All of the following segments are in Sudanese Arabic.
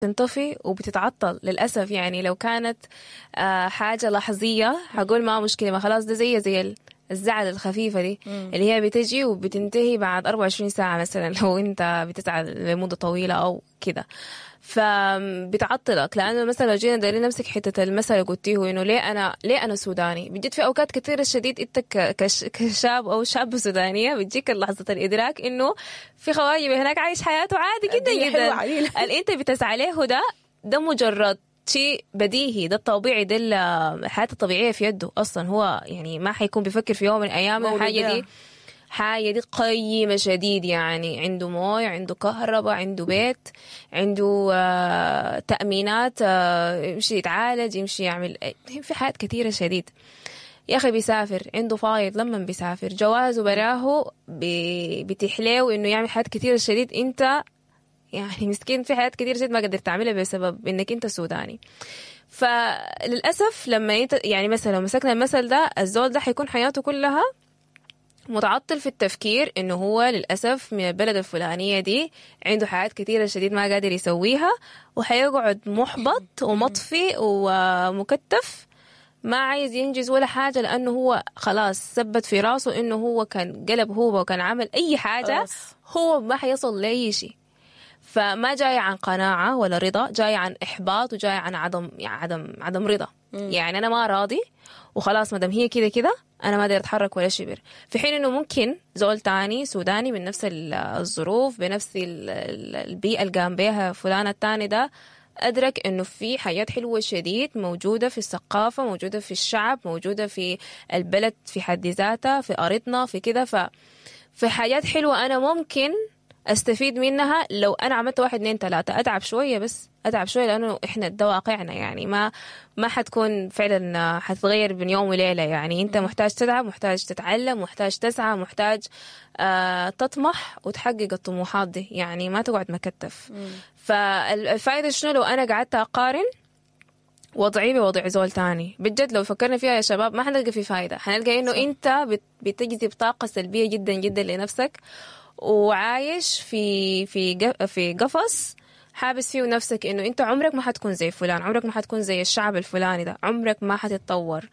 تنطفي وبتتعطل للأسف. يعني لو كانت حاجة لحظية حقول ما مشكلة، ما خلاص ده زي الزعل الخفيفة دي اللي هي بتجي وبتنتهي بعد 24 ساعة مثلا، لو انت بتزعل لمدة طويلة أو كده فبتعطلك. لأنه مثلا لو جينا دايرين نمسك حتة المثل اللي قلتيه إنه ليه أنا سوداني، بجد في أوقات كثيرة شديد أنت كشاب أو شابة سودانية بتجيك لحظة الإدراك إنه في خواجة هناك عايش حياته عادي جدا الدنيا جدا. حلوة عديل. اللي انت بتسعى له ده مجرد شيء بديهي، ده الطبيعي، ده الحياة الطبيعية في يده أصلا. هو يعني ما حيكون بيفكر في يوم من الأيام مولود الحاجة بيها. دي حاجة دي قيمة شديد. يعني عنده موية، عنده كهرباء، عنده بيت، عنده تأمينات، يمشي يتعالج، يمشي يعمل في حاجات كثيرة شديد. يا أخي بيسافر، عنده فايض لما بيسافر، جوازه براه بيتيح له إنه يعمل حاجات كثيرة شديد. أنت يعني مسكين في حاجات كثيرة شديد ما قدرت تعملها بسبب إنك أنت سوداني. فللأسف لما انت يعني مثلا لو مسكنا المثل ده، الزول ده حيكون حياته كلها متعطل في التفكير انه هو للأسف من البلد الفلانية دي، عنده حاجات كثيرة شديد ما قادر يسويها، وحيقعد محبط ومطفي ومكتف، ما عايز ينجز ولا حاجة، لأنه هو خلاص ثبت في راسه إنه هو كان قلب هو وكان عمل أي حاجة خلاص. هو ما حيصل لأي شيء. فما جاي عن قناعة ولا رضا، جاي عن إحباط وجاي عن عدم يعني عدم رضا. يعني أنا ما راضي وخلاص، ما دام هي كده كده أنا ما أقدر أتحرك ولا شبر. في حين إنه ممكن زول تاني سوداني من نفس الظروف، بنفس البيئة اللي قام بيها فلان التاني ده، أدرك إنه في حاجات حلوة شديد موجودة في الثقافة، موجودة في الشعب، موجودة في البلد في حد ذاتها، في أرضنا، في كده. في حاجات حلوة أنا ممكن استفيد منها لو انا عملت واحد اتنين تلاتة، اتعب شوية، بس اتعب شوية، لانه احنا ده واقعنا. يعني ما حتكون فعلا حتتغير بين يوم وليلة. يعني انت محتاج تتعب، محتاج تتعلم، محتاج تسعى، محتاج تطمح وتحقق الطموحات دي، يعني ما تقعد مكتف. فالفائدة شنو لو انا قعدت اقارن وضعي بوضع زول تاني؟ بجد لو فكرنا فيها يا شباب ما حنلقى في فايدة. حنلقى انه انت بتجذب طاقة سلبية جدا جدا لنفسك، وعايش في قفص حابس فيه نفسك، انه انت عمرك ما حتكون زي فلان، عمرك ما حتكون زي الشعب الفلاني ده، عمرك ما حتتطور.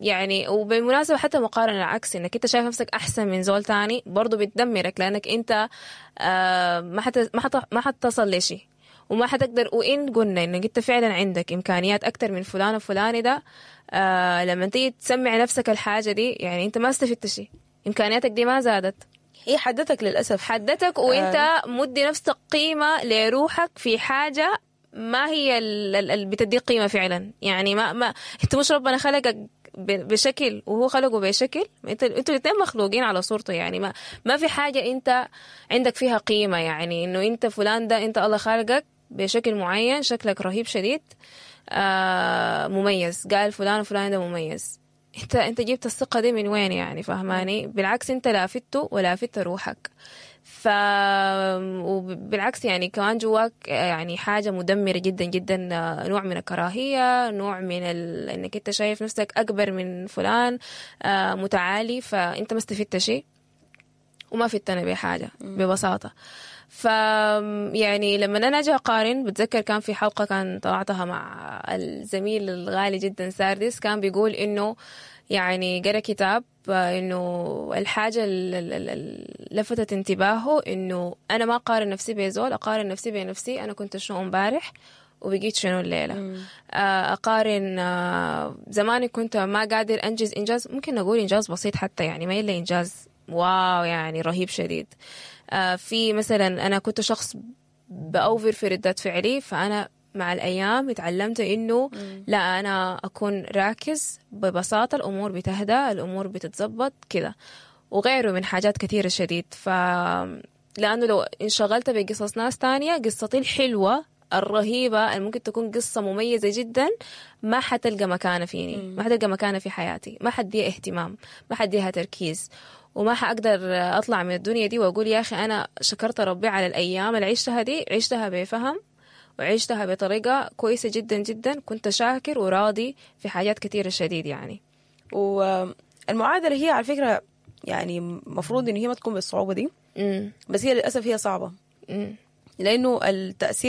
يعني وبالمناسبة حتى مقارنة العكس، انك انت شايف نفسك احسن من زول تاني، برضو بتدمرك، لانك انت ما حتصل لشيء وما حتقدر. وإن قلنا إنك أنت فعلا عندك إمكانيات أكتر من فلان الفلاني ده، لما تيجي تسمع نفسك الحاجة دي، يعني أنت ما استفدت شيء، إمكانياتك دي ما زادت. هي حدتك للأسف. حدتك، وانت مدي نفسك قيمة لروحك في حاجة ما هي اللي بتديك قيمة فعلا. يعني ما انت مش ربنا خلقك بشكل وهو خلقه بشكل، انتوا الاثنين مخلوقين على صورته. يعني ما في حاجة انت عندك فيها قيمة، يعني انه انت فلان ده، انت الله خالقك بشكل معين، شكلك رهيب شديد، مميز، قال فلان وفلان ده مميز. انت جبت الثقة دي من وين يعني؟ فهماني؟ بالعكس انت لا فدته ولا فدت روحك. وبالعكس يعني كمان جواك يعني حاجة مدمرة جدا جدا، نوع من الكراهية، نوع من انك انت شايف نفسك اكبر من فلان، متعالي. فانت ما استفدت شيء وما فدتنا بحاجة ببساطة. ف يعني لما انا اجي اقارن، بتذكر كان في حلقة كان طلعتها مع الزميل الغالي جدا ساردس، كان بيقول انه يعني قرأ كتاب، انه الحاجة اللي لفتت انتباهه انه انا ما اقارن نفسي بزول، اقارن نفسي بنفسي، انا كنت شنو امبارح وبقيت شنو الليلة. أقارن زمان كنت ما قادر أنجز إنجاز، ممكن نقول إنجاز بسيط حتى، يعني ما إلا إنجاز wow يعني رهيب شديد. في مثلا أنا كنت شخص بأوفر في ردات فعلي، فأنا مع الأيام اتعلمت إنه لا، أنا أكون راكز، ببساطة الأمور بتهدى، الأمور بتتزبط كده، وغيره من حاجات كثيرة شديد. لأنه لو انشغلت بقصص ناس تانية، قصتي الحلوة الرهيبة اللي ممكن تكون قصة مميزة جدا ما حتلقى مكانة فيني، ما حتلقى مكانة في حياتي، ما حديها اهتمام، ما حديها تركيز، وما حقدر أطلع من الدنيا دي وأقول يا أخي أنا شكرت ربي على الأيام اللي عشتها دي، عشتها بفهم وعشتها بطريقة كويسة جدا جدا، كنت شاكر وراضي في حاجات كثيرة شديد يعني. والمعادلة هي على فكرة يعني مفروض إن هي ما تكون بالصعوبة دي، بس هي للأسف هي صعبة. لانه التاثير